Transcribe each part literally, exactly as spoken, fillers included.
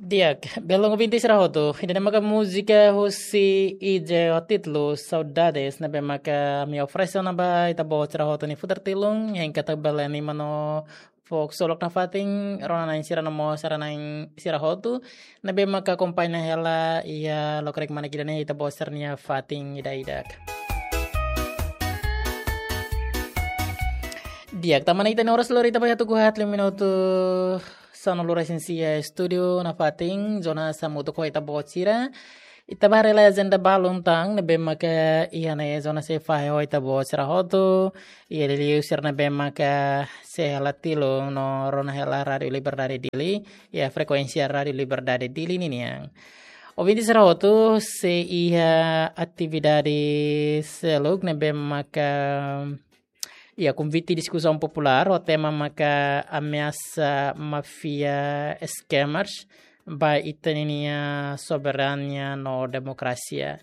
Di'ak, belun ouvinte sira hotu, ida-ne'e maka múzika husi I J ho títulu Saudades, ne'ebé maka ami oferese ona ba ita-boot sira hotu nia futar tilun, hein katak bele anima no fó ksolok nafatin rona-na'in sira no mós sarani sira hotu, ne'ebé maka akompaña hela iha lokraik mane ida-ne'e ita-boot sira-nia fatin ida-idak. Di'ak, tanba ne'e ita-nia oras lori ita ba iha tuku haat liu minutu sanulu resin sia estúdiu nafatin, Jonas hamutuk ho ita-boot sira. Ita bá haree lai ajenda balun tan, ne'ebé maka iha ne'e Jonas sei fahe ho ita-boot sira hotu. Iha liuliu sira ne'ebé maka sei hela tilun no rona hela Rádiu Liberdade Dili, iha frekuénsia Rádiu Liberdade Dili ninian. Ouvinte sira hotu, sei iha atividade seluk ne'ebé maka iha konvite diskusaun populár, ho tema maka ameasa máfia scammers ba ita-nia soberania no demokrasia.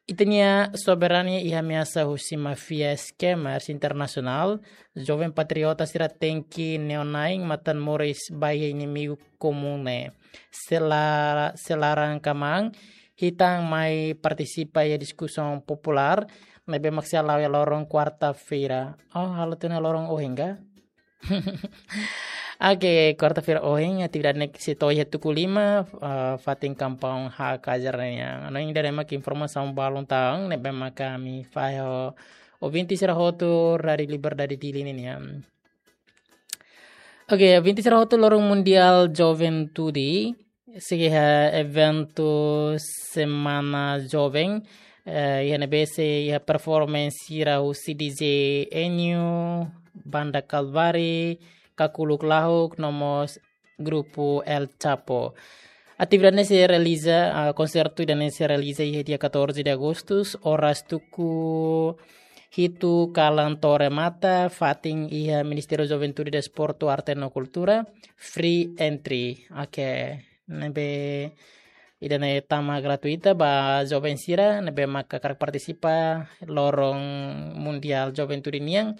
Ita-nia soberania iha ameasa husi máfia scammers internasionál, joven patriota sira tenke neon-na'in matan-moris ba iha inimigu komún ne'e. Sela-, sei laran kmaan, hitan mai partisipa iha diskusaun populár, ne'ebé mak sei hala'o iha loron kuarta-feira. Oh, halo tiha ona loron ohin ka? Oke, kuarta-feira ohin, atividade ne'e sei to'o iha tuku lima, ah, fatin kampaun Hakajar nian. No ida-ne'e mak informasaun balun tan, ne'ebé maka ami fahe ho ouvinte sira hotu Rádiu Liberdade Dili ninian. Oke, ouvinte sira hotu, loron Mundiál Juventude, sei iha eventu Semana Joven, eh, iha ne'ebé sei iha performance sira husi D J Enio, Banda Kalvari, Kakuluk Lahuk, no mós grupu El Chapo. Atividade ne'e sei realiza, ah, konsertu ida-ne'e sei realiza iha dia catorze de agosto, oras tuku hitu kalan to'o remata, fatin iha Ministériu Juventude, Desportu, Arte no Kultura, free entry. Oke, ne'ebé ida-ne'e tama gratuita ba joven sira ne'ebé maka hakarak partisipa loron Mundiál Juventude nian.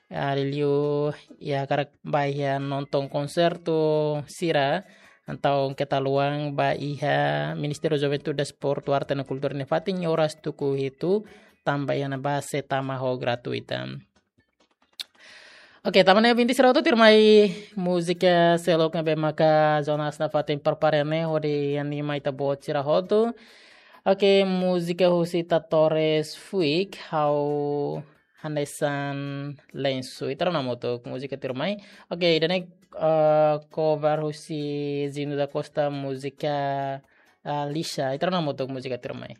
Ah, liuliu ita hakarak bá iha nonton konsertu sira, entaun keta haluha bá iha Ministériu Juventude, Desportu, Arte no Kultura nia fatin oras tuku hitu, tanba iha ne'ebá sei tama ho gratuita. Oke, tanba ne'e ouvinte sira hotu, tuirmai múzika seluk ne'ebé maka Jonas nafatin prepara ne'e hodi anima ita-boot sira hotu. Oke, múzika husi Tatores Fuik, Ha'u Hanesan Lensu. Ita rona hamutuk múzika tuirmai. Oke, ida-ne'e, eh, cover husi Zino da Costa, múzika, eh, Lixa. Ita rona hamutuk múzika tuirmai.